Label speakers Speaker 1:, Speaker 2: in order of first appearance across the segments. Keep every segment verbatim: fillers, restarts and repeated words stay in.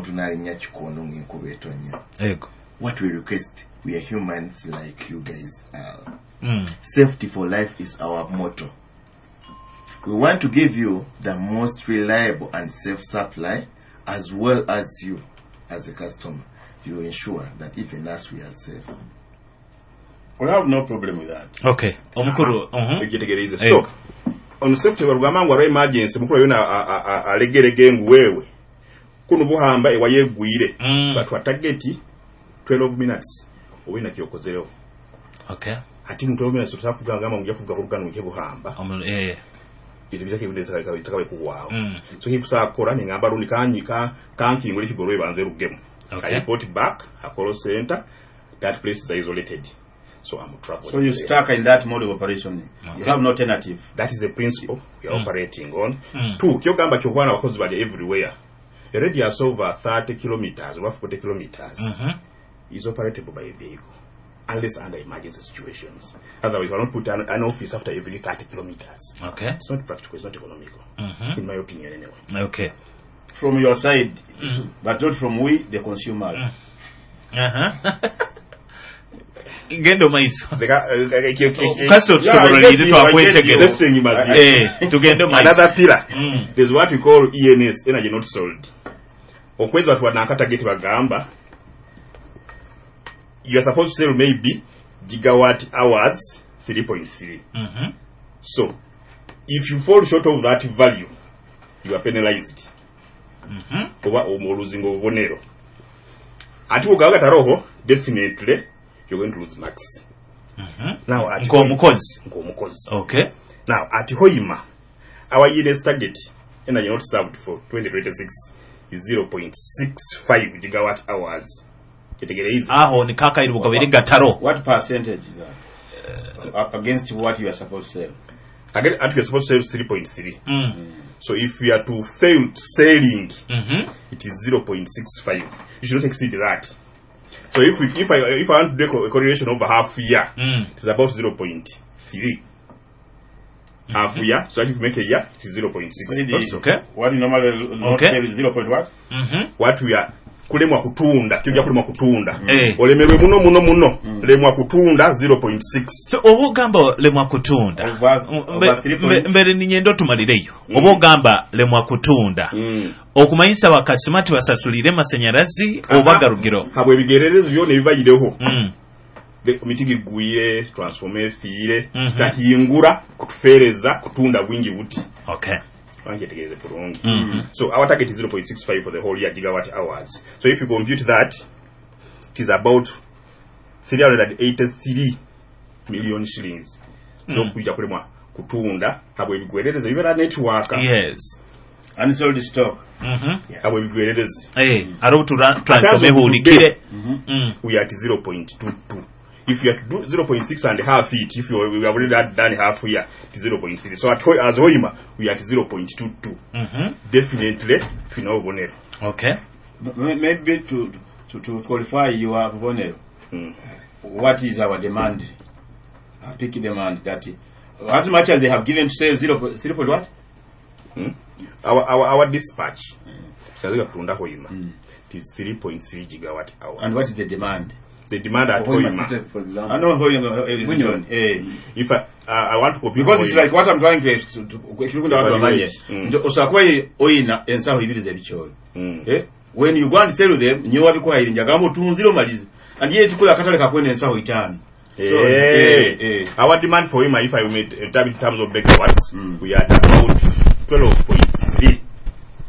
Speaker 1: Omuntu n'alinnya kikondo ng'enkuba etonnya.
Speaker 2: Ego.
Speaker 1: What we request, we are humans like you guys are.
Speaker 2: Mm.
Speaker 1: Safety for life is our motto. We want to give you the most reliable and safe supply, as well as you as a customer. You ensure that even us, we are safe.
Speaker 3: We have no problem with that.
Speaker 2: Okay, omukulu. Mhm.
Speaker 4: Ekyetegereze.
Speaker 2: Ego.
Speaker 4: So ono safety balugamba ngu waliwo emergency, mukulu yona alegerege ngu weewe kuno buhamba ewayegwire.
Speaker 2: Mm.
Speaker 4: Batwa target twelve minutes owina kyokozerewo.
Speaker 2: Okay.
Speaker 4: Ati mu twelve minutes tosobola kuvuga ngamba ngu nja kuvuga ku lugano nje buhamba.
Speaker 2: Omu- eh.
Speaker 4: Ebintu bizako ebintu ebitaka- bitakabe kuwaawo.
Speaker 2: Mm.
Speaker 4: So kikusobola kukola nengamba lundi kanyi- ka- kankingula ekigolo ebanze rugemu.
Speaker 2: Okay.
Speaker 4: I report back a call center that place is isolated, so I'm traveling
Speaker 3: So you
Speaker 4: there.
Speaker 3: stuck in that mode of operation. You
Speaker 2: Okay.
Speaker 3: have no alternative.
Speaker 4: That is the principle we are
Speaker 2: Mm.
Speaker 4: operating on.
Speaker 2: Mm.
Speaker 4: Two, kyogamba kyokwana abakozi bali everywhere, a radius over thirty kilometers oba forty kilometers
Speaker 2: Mhm.
Speaker 4: is operatable by a vehicle unless under emergency situations. Otherwise you cannot put an, an office after every thirty kilometers.
Speaker 2: Okay.
Speaker 4: It's not practical, it's not economical,
Speaker 2: Mhm.
Speaker 4: in my opinion anyway.
Speaker 2: Okay.
Speaker 3: From your side,
Speaker 2: Mm.
Speaker 3: but not from we, the consumers.
Speaker 2: Aha. Genda omaiso.
Speaker 4: Leka, eh, eh, eh, eh,
Speaker 2: Kasi otusobololire.
Speaker 3: Yeah, I get you, I get you.
Speaker 2: Twakwetegereza.
Speaker 4: Safety nyimazi.
Speaker 2: Eh, tugende omaiso.
Speaker 4: Another pillar,
Speaker 2: Mm.
Speaker 4: there's what we call E N S, energy not sold. Okwezi watu nakatageti bagamba you are supposed to sell maybe gigawatt hours three point three.
Speaker 2: Mhm.
Speaker 4: So if you fall short of that value, you are penalized
Speaker 2: Mhm.
Speaker 4: oba oluzinga obubonero. Ate bwogaba gataroho, definitely you're going to lose marks.
Speaker 2: Mhm.
Speaker 4: Now at
Speaker 2: Ng'omukozi.
Speaker 4: Ng'omukozi.
Speaker 2: Okay.
Speaker 4: Now at Hoima, our E N S target, energy not served, for twenty twenty-six is zero point six five gigawatt hours. Kitegereize.
Speaker 2: Aho ni kakairi bukabiri gataro.
Speaker 3: What percentage is that? Uh, against what you are supposed to sell?
Speaker 4: Again, at we are supposed to sell three point three.
Speaker 2: Mm.
Speaker 4: So if we are to fail selling,
Speaker 2: Mhm.
Speaker 4: it is zero point six five. You should not exceed that. So if we, if I if I want to do a correlation over half year,
Speaker 2: Mm.
Speaker 4: it is about zero point three. Half year, so that if you make a year, it is zero point six.
Speaker 3: So the-
Speaker 2: Okay.
Speaker 3: What you normally not
Speaker 2: Okay.
Speaker 3: sell is zero point what?
Speaker 2: Mhm.
Speaker 4: What we are kulemwa kutunda, kijja kulemwa kutunda.
Speaker 2: Eh.
Speaker 4: Olemerwe muno muno muno, lemwa kutunda zero point six.
Speaker 2: So oba ogamba lemwa kutunda,
Speaker 3: Over-
Speaker 2: Mbe-
Speaker 3: over three
Speaker 2: mbe-
Speaker 3: point-
Speaker 2: mbere ninyenda otumalireyo, oba ogamba lemwa kutunda
Speaker 4: Mm.
Speaker 2: okumanyisa bakasima tibasasulire masanyalazi oba garugiro?
Speaker 4: Habwe ebigererezi byona ebibayireho,
Speaker 2: Mm.
Speaker 4: The- emiti gigwire, transformer efiire,
Speaker 2: Mhm.
Speaker 4: kahingura kutufereza kutunda bwingi buti.
Speaker 2: Okay.
Speaker 4: Wankyetegereze bulungi.
Speaker 2: Mhm.
Speaker 4: So our target is zero point six five for the whole year, gigawatt hours. So if you compute that, it is about three hundred eighty-three million shillings
Speaker 2: Mm.
Speaker 4: zokujja kulemwa kutunda habwe ebigwererezi bibeera network.
Speaker 2: Yes.
Speaker 3: Unsold stock.
Speaker 2: Mhm.
Speaker 4: Habwe ebigwererezi.
Speaker 2: Eh, aro tura transform ehulikire. Mm.
Speaker 4: We are at zero point two two. If you are to do zero point six and half it, if you we have already had done half here, it is zero point three. So at, Ho- as Hoima, we are at zero point two two.
Speaker 2: Mhm.
Speaker 4: Definitely tulina obubonero.
Speaker 2: Okay.
Speaker 3: M- Maybe to, to, to qualify your bubonero,
Speaker 4: Mm.
Speaker 3: what is our demand? Our peak demand that as much as they have given to sell zero, point- zero point what?
Speaker 4: Mm. Our, our, our dispatch sikaziga kutunda Hoima,
Speaker 3: Mm.
Speaker 4: it is three point three gigawatt hours.
Speaker 3: And what is the demand?
Speaker 4: The demand at
Speaker 5: Hoima
Speaker 4: Hoima,
Speaker 5: City, for example.
Speaker 3: I know Hoima, eh,
Speaker 5: Bunyoro.
Speaker 3: eh.
Speaker 4: If I, uh, I want to compute
Speaker 3: Because it's
Speaker 4: Hoima,
Speaker 3: like what I'm trying to to- to- ekirukunda abantu bamanye
Speaker 4: Mm.
Speaker 3: nti osobola kuba oyina ensawo ibiri z'ebikyoli.
Speaker 4: mm.
Speaker 3: Eh? When you go and sell them, nyewe wabikuhaire njagamba otunzire omalize, and yet kula akatale kakwenda ensawo itaano. So,
Speaker 4: Eh,
Speaker 3: eh, eh.
Speaker 4: our demand for Hoima, if I may uh, in terms of megawatts,
Speaker 3: Mm.
Speaker 4: we are at about twelve point three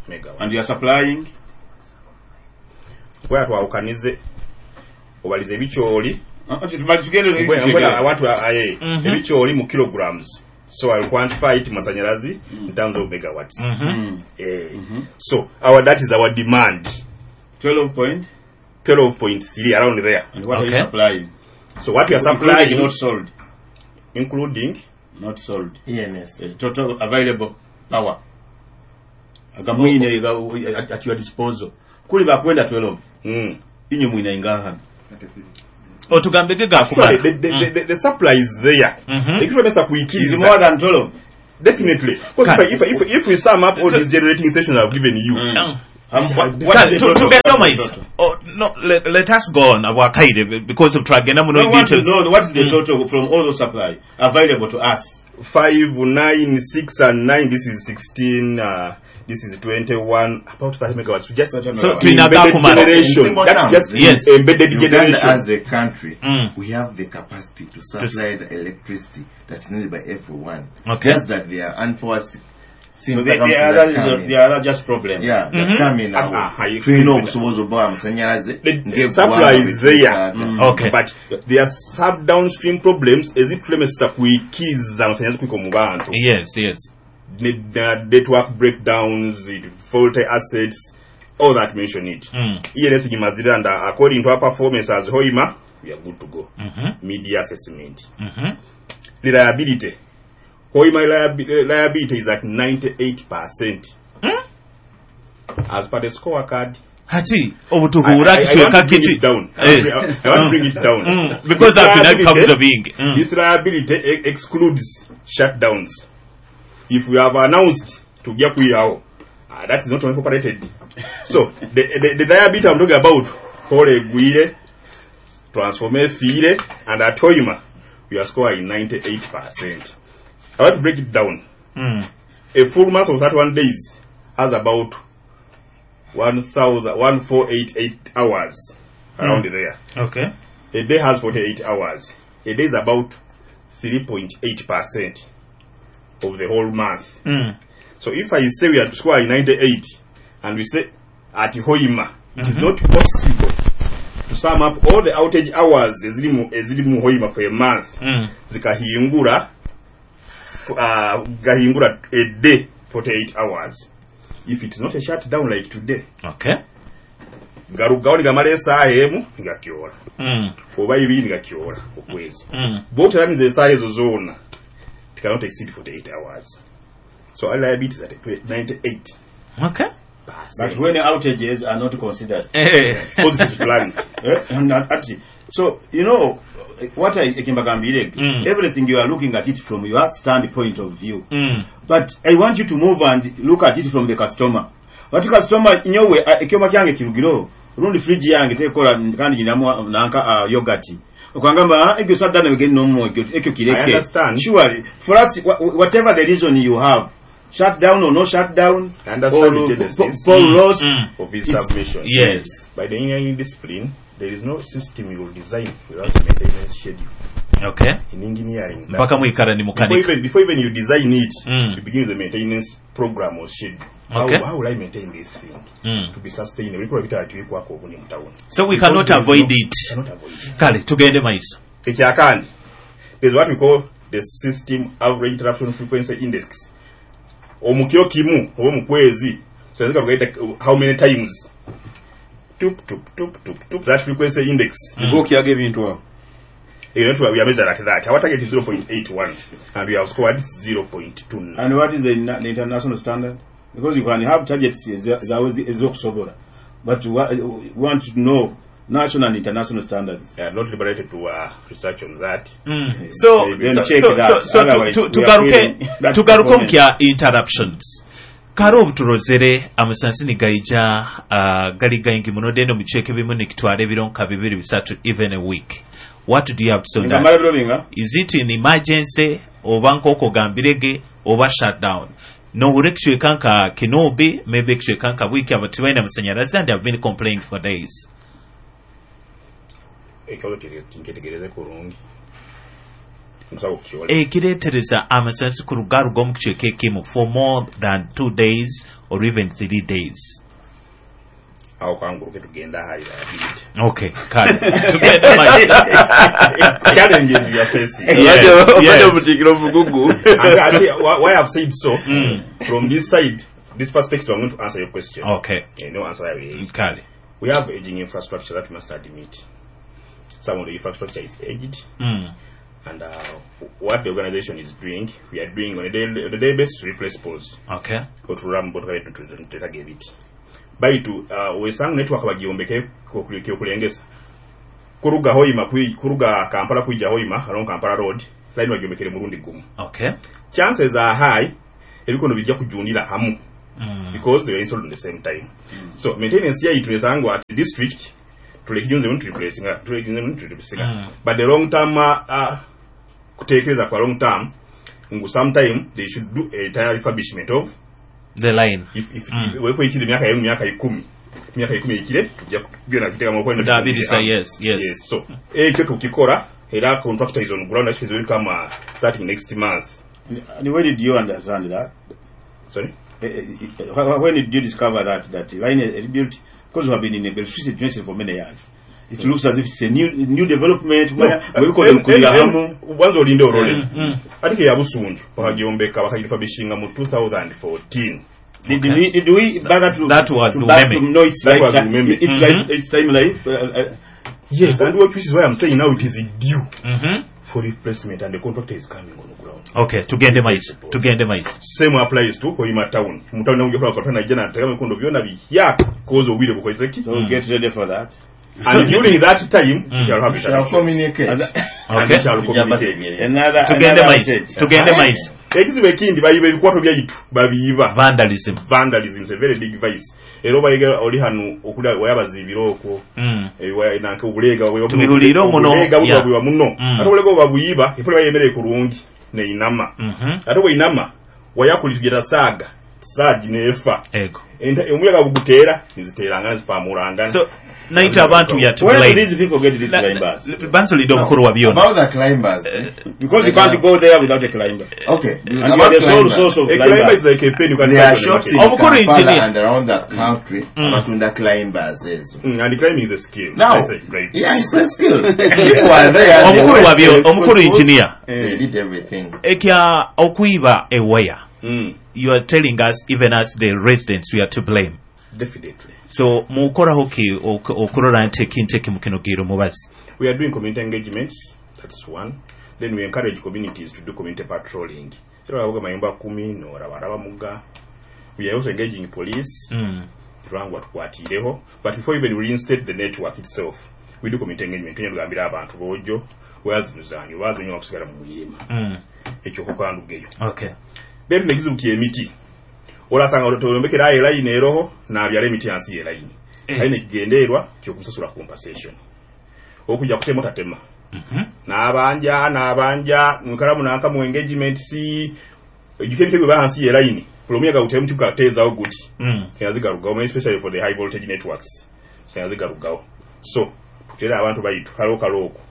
Speaker 4: megawatts.
Speaker 3: And you are supplying?
Speaker 4: Kwera twawukanize obalize ebikyoli.
Speaker 3: Uh, uh, tumali tugende.
Speaker 4: Mbwena- mbwena I want to, uh, eh,
Speaker 2: Mhm.
Speaker 4: ebikyoli mu kilograms, so I will quantify it masanyalazi in terms of megawatts.
Speaker 2: Mhm.
Speaker 3: Mm.
Speaker 4: Eh,
Speaker 3: Mhm.
Speaker 4: so our that is our demand.
Speaker 3: twelve point
Speaker 4: twelve point three, around there.
Speaker 3: And what are
Speaker 2: Okay.
Speaker 3: you supplying?
Speaker 4: So what we are
Speaker 3: Including
Speaker 4: supplying,
Speaker 3: not sold.
Speaker 4: Including
Speaker 3: Not sold.
Speaker 1: E N S.
Speaker 3: Uh, total available power agamwine at, at your disposal kuli bakwenda twelve,
Speaker 4: mm.
Speaker 3: inye mwina ingahana?
Speaker 2: Otugambege
Speaker 4: Actually,
Speaker 2: gakumala.
Speaker 4: the, the, the, the, the supply is there.
Speaker 2: Mhm.
Speaker 4: Ekitwemesa
Speaker 3: Is
Speaker 4: kuikiriza.
Speaker 3: more than twelve.
Speaker 4: Definitely, because if, I- if, if, if we sum up all these generating stations I've given you,
Speaker 3: Mm.
Speaker 2: Mm. Kale, tu- tugende omaiso. Oh, no, let, let us go on abwakaire because twagenda muno
Speaker 3: I want to
Speaker 2: details.
Speaker 3: know what's the
Speaker 2: Mm.
Speaker 3: total from all the supply available to us.
Speaker 4: Five, nine, six, and nine. This is sixteen. Uh, this is twenty-one. About thirty megawatts. Just
Speaker 2: So,
Speaker 4: embedded
Speaker 2: tulina gakumala.
Speaker 4: generation.
Speaker 1: Simple
Speaker 4: That
Speaker 1: terms,
Speaker 4: just
Speaker 2: Yes.
Speaker 4: embedded
Speaker 1: Uganda
Speaker 4: generation.
Speaker 1: as a country,
Speaker 2: Mm.
Speaker 1: we have the capacity to supply the electricity that's needed by everyone.
Speaker 2: Okay.
Speaker 1: Just that there are unforeseen
Speaker 3: So the, the,
Speaker 1: circumstances
Speaker 3: other,
Speaker 1: that come in.
Speaker 3: the other just problem.
Speaker 1: Yeah, that
Speaker 2: Mhm.
Speaker 1: come in
Speaker 4: Ah,
Speaker 1: awo.
Speaker 4: ah, I
Speaker 1: Tulina
Speaker 4: explained
Speaker 1: obusobozi obubawa amasannyalaze
Speaker 4: The
Speaker 1: ng'eggwanga
Speaker 4: supply is there.
Speaker 1: bwe
Speaker 2: Okay.
Speaker 4: But there are sub downstream problems ezitulemesa kuikiza amasannyalaze kwika mu bantu.
Speaker 2: Yes, yes.
Speaker 4: Ne- the network breakdowns, faulty assets, all that mention it.
Speaker 2: Mm.
Speaker 4: E N S gimazira and uh, according to our performance as Hoima, we are good to go.
Speaker 2: Mhm.
Speaker 4: Media assessment.
Speaker 2: Mhm.
Speaker 4: Reliability. Hoima reliabi- reliability is at ninety-eight percent. As per the scorecard.
Speaker 2: Hati
Speaker 4: I,
Speaker 2: obutuhura
Speaker 4: I, I want
Speaker 2: kichweka
Speaker 4: to bring
Speaker 2: kiti
Speaker 4: it down.
Speaker 2: Eh.
Speaker 4: I, I want to bring it down.
Speaker 2: Mm, because
Speaker 4: This
Speaker 2: after that
Speaker 4: liability-
Speaker 2: comes the being mm.
Speaker 4: This liability e- excludes shutdowns. If we have announced to get kwirawo, uh, that is not incorporated. So the, the, the liability I'm talking about, pole egwire, transformer efiire, and at Hoima, we are scoring ninety-eight percent. I want to break it down.
Speaker 2: Mm.
Speaker 4: A full month of thirty-one days has about one thousand four hundred eighty-eight hours around
Speaker 2: Mm.
Speaker 4: there.
Speaker 2: Okay.
Speaker 4: A day has forty-eight hours. A day is about three point eight percent of the whole month.
Speaker 2: Mm.
Speaker 4: So if I say we are scoring ninety-eight and we say at Hoima, it is
Speaker 2: Mhm.
Speaker 4: not possible to sum up all the outage hours eziri mu eziri mu Hoima for a month
Speaker 2: Mm.
Speaker 4: zikahingura uh, gahingura a day forty-eight hours. If it is not a shutdown like today,
Speaker 2: Okay.
Speaker 4: garugawo nigamala esaaha emu nigakyola
Speaker 2: Mm.
Speaker 4: oba ibiri nigakyola okwezi
Speaker 2: Mm.
Speaker 4: bwoteraniza esaaha ezo zona, it cannot exceed forty-eight hours. So our liability is at ninety-eight
Speaker 2: Okay.
Speaker 3: But when outages are not considered,
Speaker 2: Eh.
Speaker 4: positive plan.
Speaker 3: Eh, and ati, so you know what I ekimbagambire,
Speaker 2: Mm.
Speaker 3: everything you are looking at it from your standpoint of view.
Speaker 2: Mm.
Speaker 3: But I want you to move and look at it from the customer. But customer nyowe eh, ekyoma kyange kirugiro rundi fridge yange tekola kandi nyinamu nanka uh, yogurt okwangamba, "Ah, ekyo sadda nebigenda nomu ekyo ekyo
Speaker 4: I
Speaker 3: kireke."
Speaker 4: understand.
Speaker 3: Surely for us, wha- whatever the reason you have, shut down or no shut down,
Speaker 4: I understand
Speaker 3: or
Speaker 4: the genesis
Speaker 3: pole loss,
Speaker 2: Mm.
Speaker 4: of his
Speaker 3: It's-
Speaker 4: submission.
Speaker 2: Yes.
Speaker 4: By the engineering discipline, there is no system you will design without a maintenance schedule.
Speaker 2: Okay.
Speaker 4: In engineering, that
Speaker 2: Mpaka mwikara ni
Speaker 4: before
Speaker 2: mukanika.
Speaker 4: even, before even you design it,
Speaker 2: Mm.
Speaker 4: you begin with the maintenance program or schedule. How,
Speaker 2: Okay.
Speaker 4: how will I maintain this thing
Speaker 2: Mm.
Speaker 4: to be sustainable? Bikola bitala obuni mu town.
Speaker 2: So we cannot avoid it.
Speaker 4: Cannot avoid it.
Speaker 2: Kale tugende maiso.
Speaker 4: Ekyakandi, there's what we call the system average interruption frequency index. Omukiro kimu oba mu kwezi so how many times tup tup tup tup tup, that frequency index.
Speaker 2: Mm.
Speaker 3: Okyaga ebintu awo.
Speaker 4: You know, we are measured at that. Our target is zero point eight one and we have scored zero point two nine.
Speaker 3: And what is the, the international standard? Because you can have targets eza- zawe ezi- ez'okusobola, but we we want to know national and international standards.
Speaker 4: I are not liberated to uh, research on that.
Speaker 2: Mm. So,
Speaker 3: Then
Speaker 2: so,
Speaker 3: check
Speaker 2: so,
Speaker 3: that.
Speaker 2: so, so
Speaker 3: Otherwise,
Speaker 2: tu-
Speaker 3: we are
Speaker 2: tugaruke
Speaker 3: failing that
Speaker 2: tugaruke
Speaker 3: component.
Speaker 2: omukya interruptions kale obuturozere amasansi nigaija uh, gali gaingi muno dende omukiceeka ebimu nikitwara ebiro nka bibiri bisatu, even a week. What do you have to say on
Speaker 3: Ngamala
Speaker 2: that?
Speaker 3: ebiro binga?
Speaker 2: Is it an emergency oba nk'okugambirege oba shutdown nohura ekicweka nka Kinobi, maybe ekicweka nka Bwiki aba tibaine amasanyalaze and have been complaining for days?
Speaker 4: Ekibazo kinketegereze kurungi nsobola okukyola.
Speaker 2: Ekireetereza amasasi kurugaruga omu kicweka ekimu for more than two days or even three days.
Speaker 4: Awo kanguruke tugenda ahali liability.
Speaker 2: Okay, kale tugende maiso.
Speaker 4: Challenges we are facing.
Speaker 2: Yes,
Speaker 1: Obadde
Speaker 2: yes.
Speaker 1: omutikiro omugugu.
Speaker 4: And ate, why why I've said so,
Speaker 2: Mm.
Speaker 4: from this side, this perspective, I'm going to answer your question.
Speaker 2: Okay.
Speaker 4: Eh, no answer I will.
Speaker 2: Kale.
Speaker 4: We have aging infrastructure that we must admit. Some of the infrastructure is aged,
Speaker 2: mm.
Speaker 4: and uh, what the organization is doing, we are doing on a daily, on a daily basis to replace poles.
Speaker 2: Okay.
Speaker 4: Otulamu ebiti baitu uh, wesanga network bagyombeke kyokulengesa kuruga Hoima kui, kuruga Kampala kuija Hoima along Kampala Road line bagyombekere murundi gumu.
Speaker 2: Okay.
Speaker 4: Chances are high ebikono bijja kujundira hamu.
Speaker 2: Mm.
Speaker 4: Because they were installed at the same time. So maintenance yaitu esangwa at the district tulekijunze muntu replacing tulekijunze muntu replacing.
Speaker 2: Mm.
Speaker 4: But the long term uh, uh, kutekereza kwa long term ngu sometime they should do a entire refurbishment of
Speaker 2: The line.
Speaker 4: if if,
Speaker 2: Mm.
Speaker 4: if wepo ikire myaka yemu myaka ikumi myaka ikumi ikire tujja kugenda kiteka mu kwenda
Speaker 2: Kudabiriza, yes, yes.
Speaker 4: Yes, so ekyo tukikora era contractor is on ground actually will come uh, starting next month.
Speaker 3: And where did you understand that?
Speaker 4: Sorry.
Speaker 3: Eh, eh, eh, when did you discover that that line is built? Because we have been in a electricity generation for many years. It looks as if it's a new new development.
Speaker 4: No,
Speaker 3: No,
Speaker 4: wanza olinde olole
Speaker 2: Mm, mm.
Speaker 4: ate ke yabusunju bakagyombeka bakagirifurbishinga mu twenty fourteen.
Speaker 3: Did
Speaker 2: Okay.
Speaker 3: we did we bother to
Speaker 2: That was
Speaker 3: to, bother to
Speaker 2: Umeme.
Speaker 3: know its
Speaker 4: That
Speaker 3: life,
Speaker 4: was Umeme.
Speaker 3: its
Speaker 2: Mhm.
Speaker 3: life, its time life? Uh, uh,
Speaker 4: Yes, and what which is why I'm saying now it is due
Speaker 2: Mhm.
Speaker 4: for replacement and the contractor is coming on the ground.
Speaker 2: Okay, tugende maiso. Tugende maiso.
Speaker 4: Same applies to Hoima town. Mu town namujja kulaba katona najja n'ateeka emikondo byonna biyaka cause obwire bukozze ki.
Speaker 3: So we get ready for that.
Speaker 4: And during that time
Speaker 2: Mm.
Speaker 4: shall have
Speaker 1: Shall communicate.
Speaker 4: And
Speaker 2: Okay.
Speaker 4: shall communicate.
Speaker 3: Another
Speaker 2: Tugende
Speaker 3: another
Speaker 2: maiso.
Speaker 3: message.
Speaker 2: Tugende maiso.
Speaker 4: Ekizibu ekindi bayiba ebikwato byaitu babiyiba.
Speaker 2: Vandalism.
Speaker 4: Vandalism is a very big vice. Era obayiga oli hano okulya wayabaziibira okwo.
Speaker 2: Mm.
Speaker 4: Ewa nanke obulega bwe
Speaker 2: Tubihuliire muno.
Speaker 4: Obulega
Speaker 2: Yeah.
Speaker 4: bwe muno.
Speaker 2: Mm.
Speaker 4: Ate obulega obuyiba efule bayemereye kurungi neinama.
Speaker 2: Mhm.
Speaker 4: Ate bweinama wayakuligira saaga saagi neefa.
Speaker 2: Ego.
Speaker 4: Enta- Omuyaga buguteera niziteeranga nzipamulanga.
Speaker 2: So naita abantu we are to
Speaker 3: Where do
Speaker 2: blame.
Speaker 3: these people get these
Speaker 2: La-
Speaker 3: climbers?
Speaker 2: la- Bansulidde omukulu wa byonna.
Speaker 1: About the climbers.
Speaker 3: Because you can't go there without a climber.
Speaker 1: Okay.
Speaker 3: And you
Speaker 1: About
Speaker 3: are the sole
Speaker 1: climbers.
Speaker 3: source of
Speaker 4: A climber
Speaker 3: climbers.
Speaker 4: is like a pen you can
Speaker 1: There are
Speaker 4: find on the
Speaker 1: shops in
Speaker 4: market.
Speaker 2: Omukulu
Speaker 1: Kampala
Speaker 2: engineer.
Speaker 1: and around the country
Speaker 2: Mm.
Speaker 1: abatunda climbers ezo.
Speaker 4: Mm, and climbing is a skill.
Speaker 1: Now,
Speaker 4: That's like right.
Speaker 1: yeah, it's a skill. People are there. They
Speaker 2: Omukulu
Speaker 1: went
Speaker 2: wa byo
Speaker 1: to
Speaker 2: omukulu
Speaker 1: schools,
Speaker 2: engineer.
Speaker 1: They did everything.
Speaker 2: Ekya okuyiba ewaya.
Speaker 4: Mm,
Speaker 2: You are telling us even as the residents we are to blame.
Speaker 4: Definitely.
Speaker 2: So mukoraho ki ok- okurora nti ekintu ekimu kino giiro mubazi.
Speaker 4: We are doing community engagements. That's one. Then we encourage communities to do community patrolling. Era babuga mayumba kumi n'oraba muga. We are also engaging police.
Speaker 2: Mm.
Speaker 4: Tulangwa tukwatireho. But before even we reinstate the network itself, we do community engagement. Tunya tugambira abantu bojo wazinuzanyo wazinyo wakusigala mu muyima.
Speaker 2: Mm.
Speaker 4: Ekyo kukandugeyo.
Speaker 2: Okay.
Speaker 4: Betu nekizibu ky'emiti. Olasanga toyombekera ayo line eroho n'abyala emiti hansi ye line.
Speaker 2: Eh.
Speaker 4: Alina ekigendererwa ky'okumusasula compensation. Okujja kutema tatema.
Speaker 2: Mhm.
Speaker 4: N'abanja n'abanja mwikalamu nanka mu engagement si ejjuka emiti bwe hansi ye line. Buli omuyaga gutera omuti gukateezaawo guti.
Speaker 2: Mm.
Speaker 4: Singa especially for the high voltage networks. Singa zigalugawo. So tutera abantu bayitu kalo kalo okwo.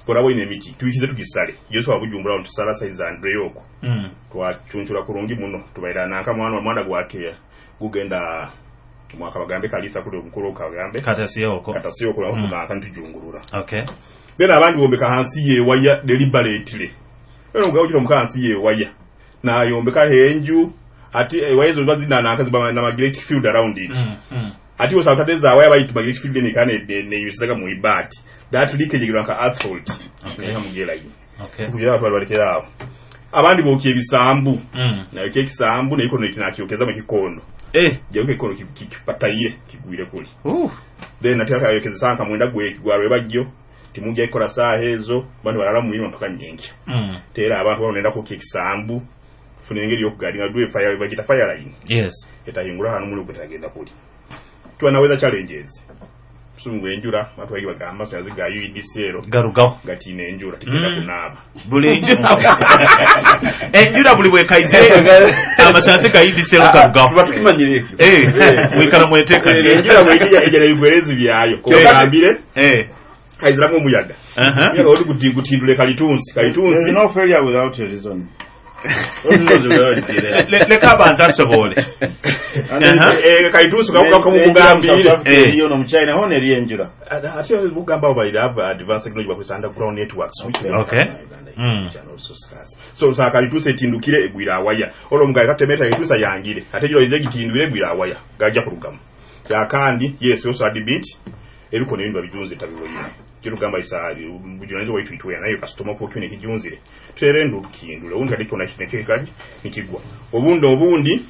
Speaker 4: Olaba olina emiti tuyikize tugisale. Yesu abujumbula tusala size Andre okwo.
Speaker 2: Mm.
Speaker 4: Twacunchula kurungi muno tubaira nanka mwana mwana gwakeya gugenda mwaka bagambe kalisa kuli omukulu kagambe
Speaker 2: Katasiyo oko.
Speaker 4: Katasiyo kula
Speaker 2: Mm.
Speaker 4: mm. nanka ntujungulura.
Speaker 2: Okay.
Speaker 4: Then abandi bombeka hansi yewaya deliberately era ngawugira omuka hansi yewaya nayombeka henju ati ewaya ezo bazina nanka ziba na magnetic field around it.
Speaker 2: Mm. Mm.
Speaker 4: Ati osanga waya bayitu magnetic field ne kane ne yusaga mu ibati that leakage granka earth fault.
Speaker 2: Okay.
Speaker 4: Okay, mugela yi
Speaker 2: Okay.
Speaker 4: kugira abantu balekera awo abandi bokye ebisambu
Speaker 2: Mm.
Speaker 4: nayo ekisambu nayo kono kinakyokeza mu kikondo.
Speaker 2: Eh.
Speaker 4: Jayo kikondo kipatayire kigwire kuli.
Speaker 2: Uh.
Speaker 4: Then ate akayokeza sanka mwenda gwe gwarwe bajjo timujja ikola saaha ezo bantu balala muyima mpaka nyenkya.
Speaker 2: Mm.
Speaker 4: Tera abantu banonenda ku ekisambu funa engeri y'okugalinga dwe fire bagita fire line.
Speaker 2: Yes.
Speaker 4: Etahingura hano muli ogutagenda kuli tuba naweza challenges sungu enjura abantu bagi bagamba saziga U E D C ero
Speaker 2: Garugaho.
Speaker 4: gati enjura tigenda
Speaker 2: Mm.
Speaker 4: kunaaba
Speaker 2: Buli enjura. Enjura buli bwekaize amasasi ga U D C ero garugaho.
Speaker 3: Tuba tukimanyire ekyo.
Speaker 2: Eh. Mwikala mweteka.
Speaker 4: Enjura bwejja ejja ebigwerezi byayo kogambire
Speaker 2: Eh.
Speaker 4: kaiziramu omuyaga.
Speaker 2: Uh-huh.
Speaker 4: Omuyaga oli guti- gutindule kalitunsi
Speaker 3: There is
Speaker 4: kalitunsi.
Speaker 3: no failure without a reason. Those reasons will already be there.
Speaker 2: Le- Leka abanze asobole.
Speaker 3: And then-
Speaker 2: Uh-huh.
Speaker 4: Eh, kalitunsi
Speaker 3: Enjura mu South
Speaker 4: kamukugambire.
Speaker 3: Africa
Speaker 2: Eh.
Speaker 3: eriyo no mu China hona eriyo enjura.
Speaker 4: Ate bugamba abo have advanced technology bakozesa underground networks which we don't
Speaker 2: Okay.
Speaker 4: have in Uganda,
Speaker 2: Mm.
Speaker 4: which are also scarce. So sa kalitusi etindukire egwira awaya olwo omugaye katemeta kalitusi yangire ate giro ize gitindwire egwira awaya gajja kurugamu yakandi. Yes, also admit ebikono ebintu babijunze tabiboyina kirugamba isa bujunanizo waitu itwe nayo customer ko kyone kijunzire tere ndu tukindule undi kati kyona kinekekali nikigwa obundi obundi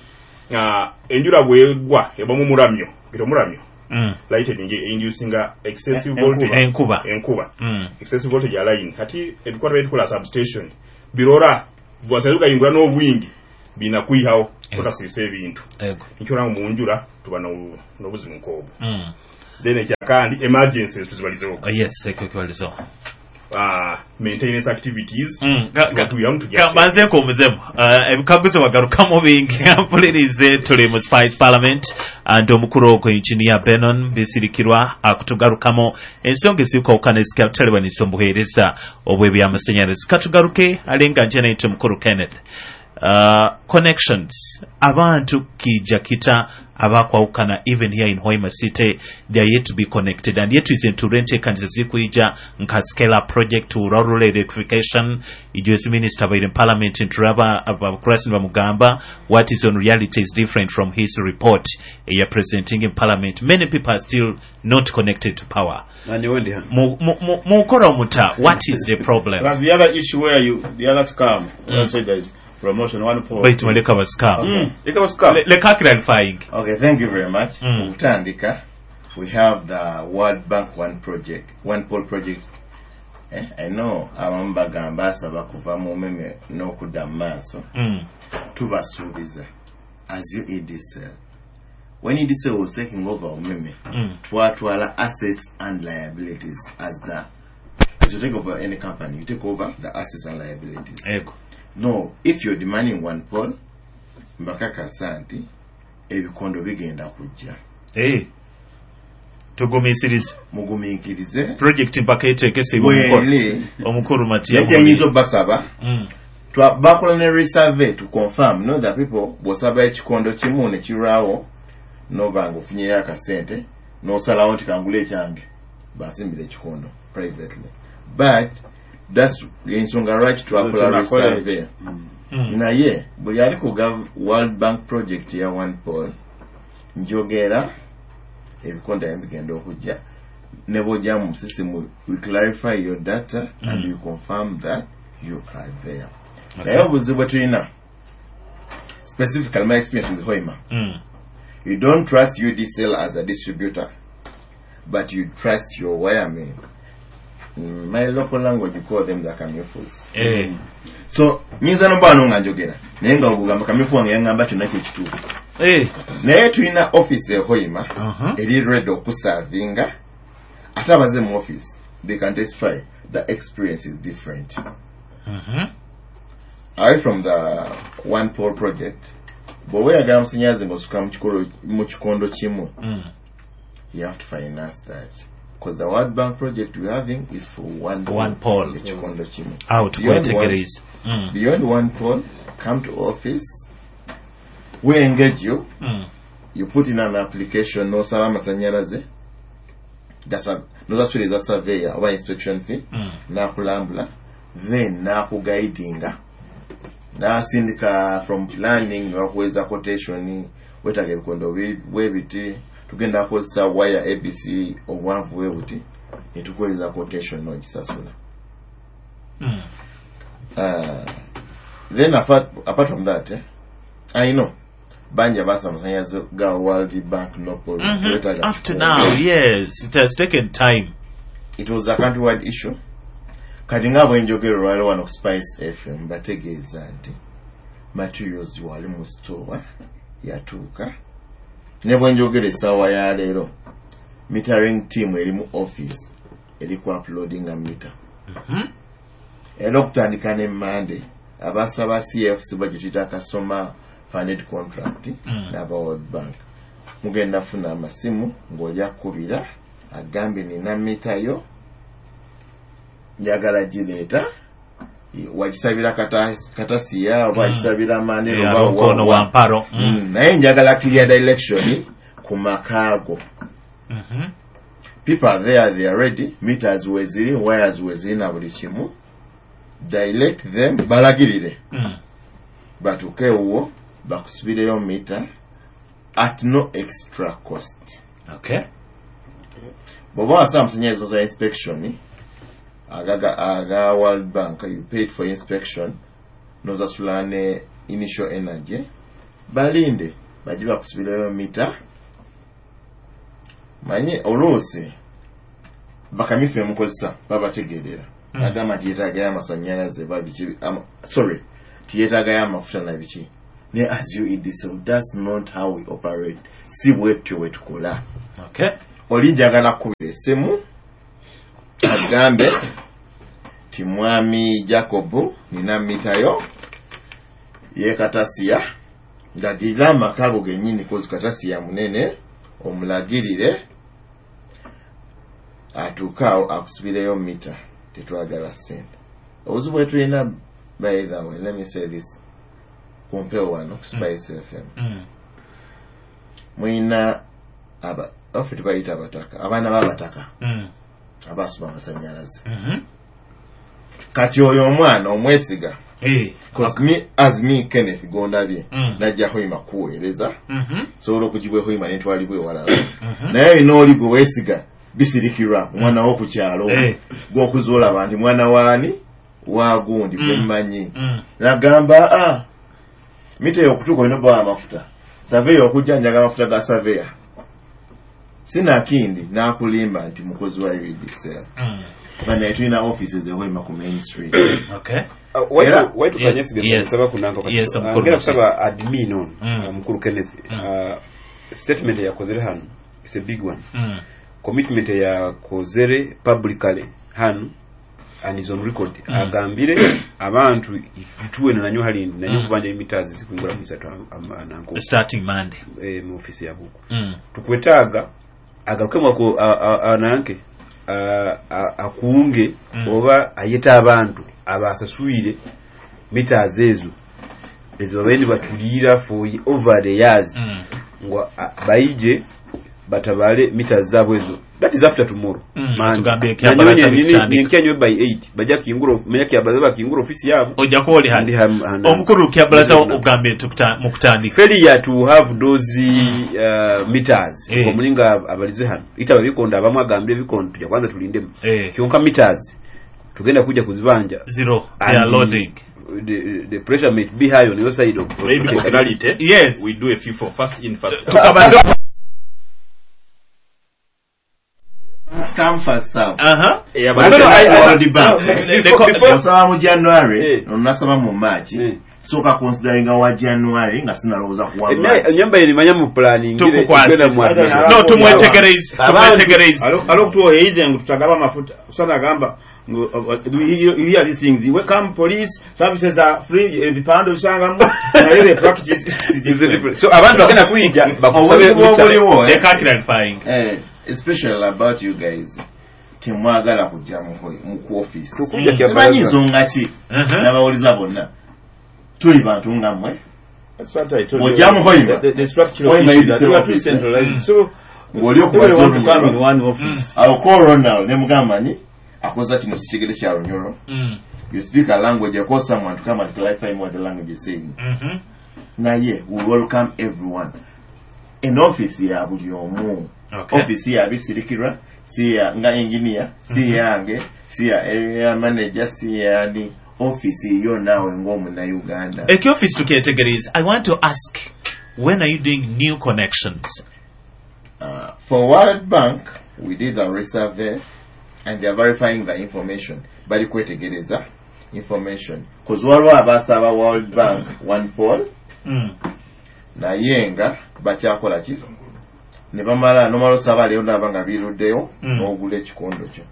Speaker 4: uh, enjura bwegwa eba mu muramyo gito muramyo.
Speaker 2: Mm.
Speaker 4: Lightning inducing excessive
Speaker 3: Enkuba.
Speaker 4: voltage.
Speaker 2: Enkuba.
Speaker 4: Enkuba.
Speaker 2: Mm.
Speaker 4: Excessive voltage ya line kati ebikwata bitukola substation birora bwasaluka ingura n'obwingi Bina kwihawo
Speaker 2: Eh.
Speaker 4: kutasiisa ebintu.
Speaker 2: Ego.
Speaker 4: Nikyo olaba mu njura tuba n'obu- n'obuzibu nk'obwo.
Speaker 2: Mm.
Speaker 4: Then ekyakandi, emergencies tuzibalizeho.
Speaker 2: Oh, yes, ekyo kibalizeho.
Speaker 4: Ah, maintenance activities.
Speaker 2: Mm, ga- ga-
Speaker 4: Tuba tujja.
Speaker 2: Kambanze nkuwumuzemu. Uh, ebikaguzo bagarukamu bingi. Mpulirize, tuli mu Spice Parliament and omukulu ogwo Engineer Benon Bisirikirwa akutugarukamu ensonga ezirikwawukana ezikatalebanisa omubuheereza obw'ebyamasanyalaze. Katugaruke alenga nje naite omukulu Kenneth. Uh, connections abantu kija kita abakwawukana, even here in Hoima City they are yet to be connected, and yet is enteekaniza zikuija nka scale up project, rural electrification. Ijozi minister baire in parliament nturaba abakurasi bamugamba what is on reality is different from his report eya presenting in parliament. Many people are still not connected to power.
Speaker 3: Nanyowe ndi hano.
Speaker 2: Mu- mu- mu- mukora omuta, what is the problem?
Speaker 3: That's the other issue where you, the other scam. Mm. Say there is promotion one four.
Speaker 2: Baitu muleka bascam.
Speaker 3: Mm. Leka scam.
Speaker 2: Leka clarifying.
Speaker 1: Okay, thank you very much.
Speaker 2: Mm.
Speaker 1: Okutandika, we have the World Bank One project, One Pole project. Eh, I know abamu bagamba asaba kuva mu umeme n'okudda mu maaso.
Speaker 2: mm.
Speaker 1: Tubasuubiza as U E D C L. When U E D C L was taking over umeme,
Speaker 2: Mm.
Speaker 1: twatwala assets and liabilities. As the as you take over any company, you take over the assets and liabilities.
Speaker 2: Ego.
Speaker 1: No, if you're demanding one pole, mbakakasa nti ebikondo bigenda kujja.
Speaker 2: Eh. Tugumiisirize.
Speaker 1: Mugumiikirize.
Speaker 2: Project mpaka eteekesebwe omukolo.
Speaker 1: Bwere
Speaker 2: Omukulu Matiya.
Speaker 1: nekyenyinza obbasaba,
Speaker 2: Mm.
Speaker 1: twa- bakola ne resurvey to confirm. Know that people, bw'osaba ekikondo kimu ne kirwawo, noba nga ofunyeyo akasente n'osalawo nti kangule ekyange basimbira ekikondo privately, but that's ensonga lwaki twakola resurvey.
Speaker 3: Mm.
Speaker 2: Mm.
Speaker 1: Naye buli ali ku Gov- World Bank project ya one pole, njogera ebikondo ayo bigenda okujja ne bwojja mu system, we clarify your data and
Speaker 2: Mm.
Speaker 1: we confirm that you are there.
Speaker 2: Okay.
Speaker 1: Naye obuzibu bwe tulina, specifically my experience with Hoima,
Speaker 2: Mm.
Speaker 1: you don't trust U D C L as a distributor, but you trust your wiremen. In my local language you call them the kamyufus.
Speaker 2: Eh.
Speaker 1: So nyinza noba wano nga njogera naye nga ogugamba kamyufu wange yaŋŋamba kyonna kyekituufu.
Speaker 2: Eh.
Speaker 1: Naye tulina office e Hoima
Speaker 2: Uh-huh.
Speaker 1: eri ready okusavinga, ate abaze mu office they can testify the experience is different.
Speaker 2: Mhm.
Speaker 1: Away from the one pole project, bw'oba oyagala musannyalaze ng'osuka mu kikolo- mu kikondo kimu,
Speaker 2: Mm.
Speaker 1: you have to finance that because the World Bank project we're having is for one
Speaker 2: One pole.
Speaker 1: Ekikondo kimu.
Speaker 2: Awo
Speaker 1: Beyond
Speaker 2: tukwetegereza. Mm.
Speaker 1: Beyond one pole, come to office, we engage you.
Speaker 2: Mm.
Speaker 1: You put in an application n'osaba amasanyalaze, nosasula eza surveyor oba inspection fee,
Speaker 2: Mm.
Speaker 1: n'akulambula, then n'akuguidinga, n'asindika from planning nebakuweza quotation: wetaaga ebikondo bi- bwe biti, tugenda kukozesa wire A B C obuwanvu bwe buti, netukuweza quotation n'ogisasula.
Speaker 2: Mm.
Speaker 1: Uh, then apart, apart from that, eh, I know bangi abasa amasanyalaze ga World Bank no pole.
Speaker 2: Mhm.
Speaker 1: Wetaaga
Speaker 2: Up to
Speaker 1: kikondo.
Speaker 2: now, yes, it has taken time.
Speaker 1: It was a countrywide issue. Kati nga bwenjogera olwaleero wano ku Spice F M, bategeeza nti materials wali mu store yatuuka. Ne bwenjogera essaawa ya leero, metering team eri mu office eri ku uploadinga meter.
Speaker 2: Mhm.
Speaker 1: Era okutandika ne Monday, abasaba C F C ba gyetuyita customer funded contract
Speaker 2: Mm.
Speaker 1: n'aba World Bank mugenda funa amasimu ng'oli akubira agambye nina mita yo njagala gireeta, wagisabira kata- katasiya oba
Speaker 2: Mm.
Speaker 1: wagisabira Mandela
Speaker 2: Yeah,
Speaker 1: oba
Speaker 2: Lukono
Speaker 1: wa- wa-
Speaker 2: Wamparo. Mm.
Speaker 1: Mm, naye njagala clear direction ku makaago.
Speaker 2: Mhm.
Speaker 1: People are there, they are ready, meters weziri, wires weziri na buli kimu. Direct them, balagirire
Speaker 2: Mm.
Speaker 1: batuuke ewuwo bakusubireyo mita at no extra cost.
Speaker 2: Okay.
Speaker 1: Bw'oba wasaba amasanyalaze za inspection agaga aga World Bank, you paid for inspection nosasula ne initial energy, balinde bajje bakusubireyo mita. Manye oluusi bakamyufu emukozesa babategeerera.
Speaker 2: Mm.
Speaker 1: Agamba nti yeetaagayo amasanyalaze ba biki, ama, sorry, tiyeetaagayo amafuta na biki, Ne as U E D C, that's not how we operate. Si bwetyo bwe tukola.
Speaker 2: Okay.
Speaker 1: Oli njagala kubira essimu agambe ti mwami Jacob, nina mitayo yekatasiya, ndagirira amaka ago gennyini, kozi Katasiya munene, omulagirire atuuke awo akusubireyo mita. Tetwagala ssente. Obuzibu bwe tulina, by the way, let me say this kumpewo wano ku Spice F M,
Speaker 2: Mm.
Speaker 1: mulina aba affe tubayita abataka, abaana b'abataka
Speaker 2: Mm.
Speaker 1: abasoma amasanyalaze.
Speaker 2: Mhm.
Speaker 1: Kati oyo omwana omwesiga?
Speaker 2: Eh.
Speaker 1: 'Cause me, as me Kenneth gondabye,
Speaker 2: Mm.
Speaker 1: najja Hoima kuweereza,
Speaker 2: Mhm.
Speaker 1: sobola okugibwa Hoima nentwalibwa ewalala,
Speaker 2: Mhm.
Speaker 1: naye olina oli gwe weesiga bisirikirwa, omwana wokukyalo,
Speaker 2: Eh.
Speaker 1: gwokuzoolaba nti mwana waani wagundi,
Speaker 2: Mm.
Speaker 1: gwemmanyi,
Speaker 2: Mm.
Speaker 1: nagamba a mita eyokutuuka olina obbawa amafuta, surveyor okujja njaga amafuta ga surveyor, sinakindi nakulimba nti mukozi wa U E D C L.
Speaker 2: Mm.
Speaker 1: Banaye tulina offices ehoima ku Main Street.
Speaker 2: Okay.
Speaker 1: Era-
Speaker 4: Waitukanyesige.
Speaker 2: Yes.
Speaker 4: Kusaba kunanka.
Speaker 2: Yes, omukulu.
Speaker 4: Ngenda kusaba admin on
Speaker 2: Mm.
Speaker 4: uh, mukulu Kenneth,
Speaker 2: Mm.
Speaker 4: uh, statement yakozere hano is a big one,
Speaker 2: Mm.
Speaker 4: commitment yakozere publicly hano and is on record.
Speaker 2: Mm.
Speaker 4: Agambire abantu ituwe nanyo halindi nanyo
Speaker 2: Mm.
Speaker 4: kubanja emitazi zikuingura mwisatu nanko
Speaker 2: Starting Monday.
Speaker 4: eh, mu office ya buku.
Speaker 2: Mm.
Speaker 4: Tukwetaaga agarukemu ako ananke akunge
Speaker 2: Mm.
Speaker 4: oba ayeta abantu abasaswire meters ezo ezo babaire nibatuliira for over the years,
Speaker 2: Mm.
Speaker 4: ngo a- baije batabale meters zaabwe ezo. That is after tomorrow.
Speaker 2: Mm,
Speaker 4: Monday.
Speaker 2: tugambye ekyabalaza
Speaker 4: Nanyowe
Speaker 2: bitandika.
Speaker 4: nyenkya nyowe by eight bajja kingura menya kyabalaza bakingura ofisi yabo.
Speaker 2: Ojja kuba oli
Speaker 4: Ndi
Speaker 2: hano.
Speaker 4: ham- hana-
Speaker 2: Omukulu Kyabalaza, ogambye tukuta- mu kutandika
Speaker 4: failure to have those uh, meters,
Speaker 2: Eh.
Speaker 4: omulinga abalize hano itaba bikondo abamu agambire ebikondo tujja kwanza tulindemu,
Speaker 2: Eh.
Speaker 4: kyonka meters tugenda kujja kuzibanja.
Speaker 2: Zero.
Speaker 4: And
Speaker 2: They are loading.
Speaker 4: the, the pressure might be high on your side of
Speaker 5: Maybe for finality,
Speaker 2: Yes.
Speaker 5: we do a FIFO, first in, first out.
Speaker 2: Tukabaze.
Speaker 1: First come, first serve.
Speaker 2: Aha.
Speaker 5: Yeah,
Speaker 4: No,
Speaker 5: but
Speaker 4: no, I- I-
Speaker 1: World Bank.
Speaker 2: The-
Speaker 4: Before-
Speaker 2: the-
Speaker 4: before-
Speaker 1: Osaba mu January,
Speaker 4: Eh.
Speaker 1: onasaba mu March.
Speaker 4: Eh.
Speaker 1: Sooka consideringa wa January nga sinalowooza kuwa
Speaker 4: Emya-
Speaker 1: March.
Speaker 4: enyamba yenimanya mu planning.
Speaker 2: Tukukwase. No, tumwetegereze, tumwetegereze.
Speaker 3: Alokutuwoheize ngu tutagaba amafuta usana agamba ngu, uh, uh, you hear these things, welcome, police services are free, ebipande obisangamu, naye the practice is different.
Speaker 4: So abantu bagenda kuyija bakusabe.
Speaker 1: Obuzibu obuliwo, eh,
Speaker 2: Leka clarifying.
Speaker 1: eh, especially about you guys, temwagala kujja mu ho- mu ku office.
Speaker 4: Tukujja
Speaker 1: Simanyi
Speaker 4: Kyabalaza.
Speaker 1: nsonga ki.
Speaker 2: Mhm.
Speaker 1: N'abawuliza bonna tuli bantu nga mmwe.
Speaker 3: That's what I told you.
Speaker 1: Ojja mu Hoima.
Speaker 3: The, the structural
Speaker 1: Hoima
Speaker 3: issue
Speaker 1: is
Speaker 3: that
Speaker 1: the
Speaker 3: we are too
Speaker 1: office, eh?
Speaker 3: centralized. So
Speaker 1: Ng'oli
Speaker 3: everyone want to
Speaker 1: okubaza
Speaker 3: come in one office.
Speaker 1: awo ko Ronald ne mugamba nyi akoza kino kikigere kya Runyoro.
Speaker 2: Mm.
Speaker 1: You speak a language, I call someone to come and clarify what the language is saying.
Speaker 2: Mhm.
Speaker 1: Naye we welcome everyone en office ya buli omu.
Speaker 2: Okay.
Speaker 1: Office ya bisirikirwa si ya nga engineer, si yange, si ya area manager, si yani office yo naawe ng'omunnayuganda.
Speaker 2: Ekyofiisi tukyetegereza. I want to ask, when are you doing new connections?
Speaker 1: Uh, for World Bank, we did a resurvey and they are verifying the information. Bali kwetegereza information cause waliwo abasaba World Bank one pole,
Speaker 2: Mm.
Speaker 1: naye nga bakyakola ki ne bamala nomala osaba leero naba nga biruddeyo,
Speaker 2: Mm.
Speaker 1: n'ogula ekikondo kyo.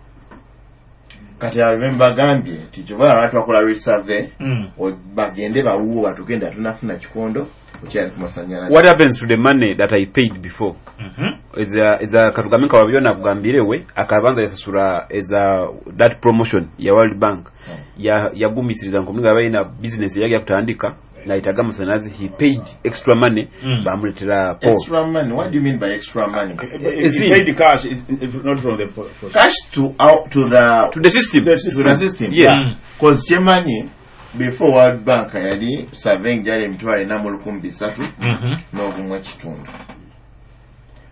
Speaker 1: Kati abe mbagambye nti kyova lwaki twakola resurvey,
Speaker 2: Mm.
Speaker 1: o- bagende bawuwo batugenda tunafuna kikondo okyali ku masanyalaze.
Speaker 4: What happens to the money that I paid before?
Speaker 2: Mhm.
Speaker 4: Eza eza katugambe nka wabyona akugambire we akabanza yasasura eza that promotion ya World Bank, ya yagumisiriza nkomulinga abalina business yagi yakutandika nayitaga amasanyalaze, he paid extra money,
Speaker 2: Mm.
Speaker 4: bamuletera pole.
Speaker 1: Extra money? What do you mean by extra money?
Speaker 3: If you paid the cash, it's it's not from the po- po-
Speaker 1: Cash to out to the
Speaker 4: To the system.
Speaker 3: The
Speaker 1: to the system?
Speaker 4: Yes.
Speaker 2: Mm.
Speaker 1: Cause kyemanyi before World Bank yali surveying gyali emitwalo ena mu lukumi bisatu
Speaker 2: Mhm.
Speaker 1: n'ogumu ekitundu.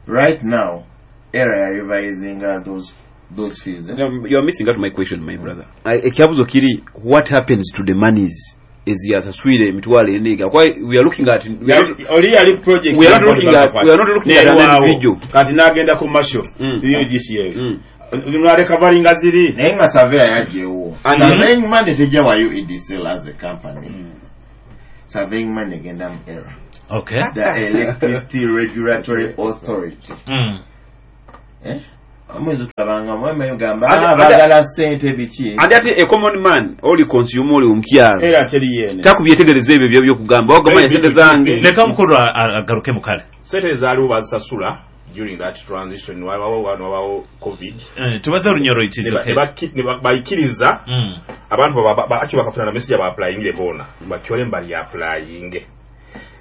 Speaker 1: Right now era ya revisinga those those fees, eh?
Speaker 4: No, you are missing out my question, my brother. I- ekyabuzo kiri, what happens to the monies eziyasaswire emitwalo ena? Kwa we are looking at we are not,
Speaker 3: Oli yali project.
Speaker 4: We are not looking at- we are not looking at an individual.
Speaker 3: Kati n'agenda ku masho
Speaker 4: Mm.
Speaker 3: U G C A,
Speaker 4: Mm.
Speaker 3: narecoveringa ziri.
Speaker 1: Naye nga surveyor yagyewo.
Speaker 4: And-
Speaker 1: Surveying money tejja wa U E D C L as a company. Surveying money egenda mu ERA.
Speaker 2: Okay.
Speaker 1: The Electricity Regulatory Authority.
Speaker 2: Mm.
Speaker 1: Eh? Omwezi tulabanga mweme gamba
Speaker 6: Ate-
Speaker 1: "Ah, baagala ssente biki."
Speaker 6: Ate ate a common man oli consumer oli omukyalo
Speaker 3: Era teri yene.
Speaker 6: Takubyetegereza ebyo byo byokugamba wagamanya sente zange.
Speaker 2: Leka mukulu a- a- agaruke mukale.
Speaker 4: Sente zaaliwo bazisasula during that transition, wabawo wano wabawo COVID.
Speaker 2: Eh, tubaze Olunyoro, it is
Speaker 4: Ne ba-
Speaker 2: okay.
Speaker 4: ne bakki- ne ba- baikiriza
Speaker 2: Mm.
Speaker 4: abantu ba- ba- actually bakafuna na message aba-applyingire boona bakyole mbali applyinge,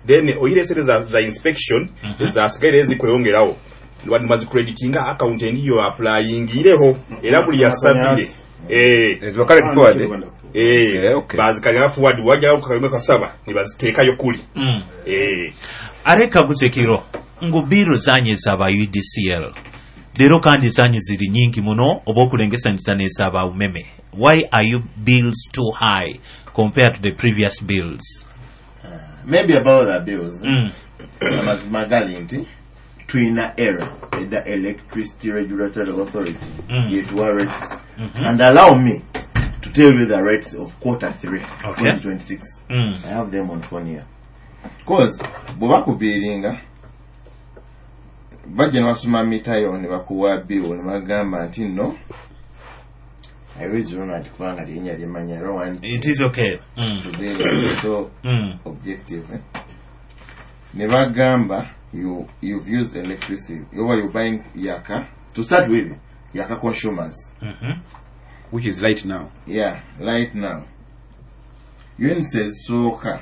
Speaker 4: then oyire sente za, za inspection
Speaker 2: Mhm.
Speaker 4: zasigaire ezikweyongerawo nibazicreditinga account endi yo applyingireho era buli yasabire eh
Speaker 6: Ezo carried forward, eh?
Speaker 4: Eh,
Speaker 6: Eh, okay.
Speaker 4: bazikalira forward wajjawo kalinga kasaba nibaziteekayo kuli.
Speaker 2: Mm.
Speaker 4: Eh.
Speaker 2: Are kaguze kiro ngu bill zanyu ezaba U D C L leero kandi zanyu ziri nyingi muno oba okulengesanyisa n'ezaba UMEME. Why are you bills too high compared to the previous bills?
Speaker 1: Maybe about the bills,
Speaker 2: mm.
Speaker 1: amazima gali nti tulina ERA, the Electricity Regulatory Authority,
Speaker 2: Mm.
Speaker 1: yetuwa rates.
Speaker 2: Mhm.
Speaker 1: And allow me to tell you the rates of quarter three,
Speaker 2: Okay.
Speaker 1: twenty twenty-six.
Speaker 2: Mm.
Speaker 1: I have them on phone here, cause bwe bakubiiringa bajja ne basoma mitayo ne bakuwa bill ne bagamba nti nno I raise Ronald kubanga linnya limanya. I don't want
Speaker 2: It is okay. mm.
Speaker 1: to be like so
Speaker 2: Mm.
Speaker 1: objective, eh? Ne bagamba you, you've used electricity over, you're buying yaka, to start with yaka consumers,
Speaker 2: Mhm.
Speaker 6: Which is right now.
Speaker 1: Yeah, right now units ezisooka,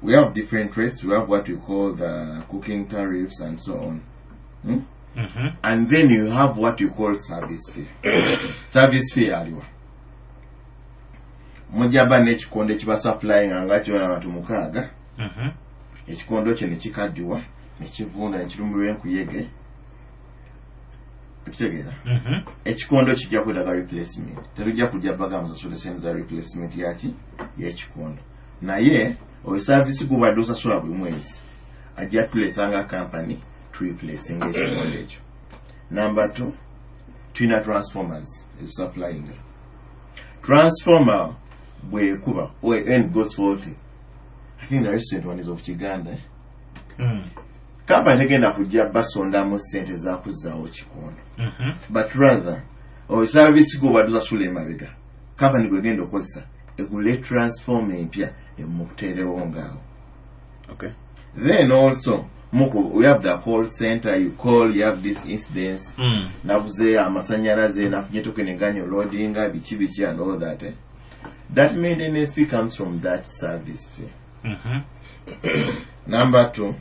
Speaker 1: we have different rates. We have what we call the cooking tariffs and so on, hmm?
Speaker 2: Mhm.
Speaker 1: And then you have what you call service fee. Service fee aliwa mujaba n'ekikondo ekibasupplyinga nga kyona abantu mukaaga.
Speaker 2: Mhm.
Speaker 1: Ekikondo kyo nekikaddiwa nekivunda nekirumirwa enkuyege, okitegeera?
Speaker 2: Mhm.
Speaker 1: Ekikondo kijja kwetaaga replacement. Tetujja kujja baga musasule sente za replacement yaki y'ekikondo, naye oyo service gubadde osasula buli mwezi ajja tuleeta company tureplacinga ekikondo ekyo. Number two, tulina transformers ezisupplyinga. Transformer bwekuba and goes faulty, I think the recent one is of Kiganda, eh?
Speaker 2: Mm.
Speaker 1: Company tegenda kujja basondamu sente zakuzzaawo kikondo,
Speaker 2: Mhm.
Speaker 1: but rather oyo service gobadde osasula emabega company gwegenda okukozesa egule transformer empya emukuteerewo ngaawo.
Speaker 6: Okay.
Speaker 1: Then also muku we have the call center. You call, you have this incidence,
Speaker 2: Mm.
Speaker 1: nabuze amasanyalaze, nafunye token eganya loadinga biki biki and all that, eh? That maintenance fee comes from that service fee.
Speaker 2: Mhm.
Speaker 1: Number two,